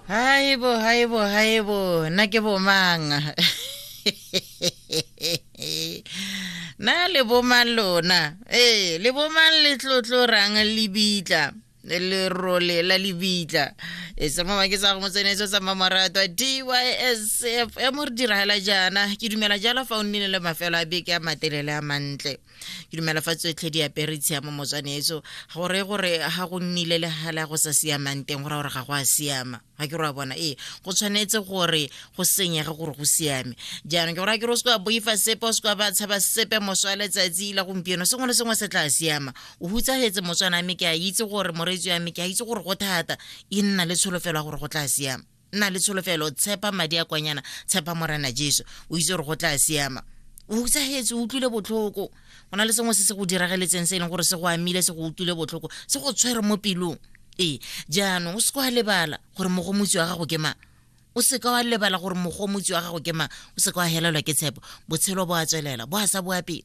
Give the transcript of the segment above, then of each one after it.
Haibo, haibo, haibo, nna ke bomang? Na le bomang lona? Ee, le bomang le tlotlo rang lebitla? Lerole la lebitla. E se mama ke sa go motsenetso sa mmamoratwa DYSF e mo re diragela jaana. Ke dumela jalo fa o nnile le mafelo a beke a matelele a mantle. Ke dumela fa tsotlhe di apere tshiamo motswanetso gore gore ga go nnile le gala go sa siamang teng go raya gore ga go a siama. Ga ke re wa bona, ee, go tshwanetse gore go senyege gore go siame. Jaanong ke gore a ke re o se ka boifa sepe, o se ka ba tshaba sepe moso wa letsatsi la gompieno, sengwe le sengwe se tla siama. O hutsafetse motswana mme ke a itse gore moreetsi wa me, ke a itse gore go thata, e nna le tsholofelo ya gore go tla siama. Nna le tsholofelo, tshepa madi a kwanyana, tshepa Morena Jesu, o itse gore go tla siama. O hutsafetse, o utlwile botlhoko, go na le sengwe se se go dirageletseng se e leng gore se go amile, se go utlwile botlhoko, se go tshwere mo pelong. Ee, jaanong o se ka wa lebala gore mogomotsi wa gago ke mang. O se ka wa lebala gore mogomotsi wa gago ke mang. O se ka wa helelwa ke tshepo. Botshelo bo a tswelela, bo a sa boa pele.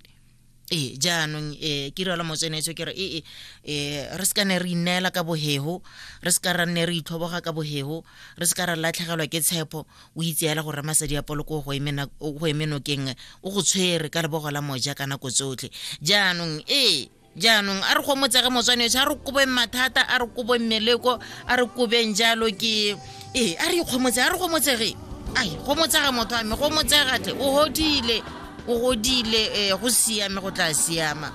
Ee, jaanong um ke rialo motswenetso ke re ee, um re se ka ne re ineela ka bohego, re se ka ra nne re itlhoboga ka bohego, re se ka ra latlhegelwa ke tshepo. O itseela gore Ramasedi a Poloko o go eme nokeng, o go tshwere ka lebogo la moja ka nako tsotlhe. Jaanong ee, jaanong a re gomotsege motswanetso, a re kobeng mathata, a re kobeng meleko, a re kobeng jalo ke ee, a re ikgomotse, a re gomotsege. Ai, gomotsega motho wa me, gomotsega tle, o godile, o godile, ee, go siame, go tla siama.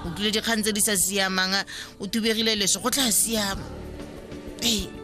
O tlile dikgang tse di sa siamang, o thubegile leso, go tla siama. Ee.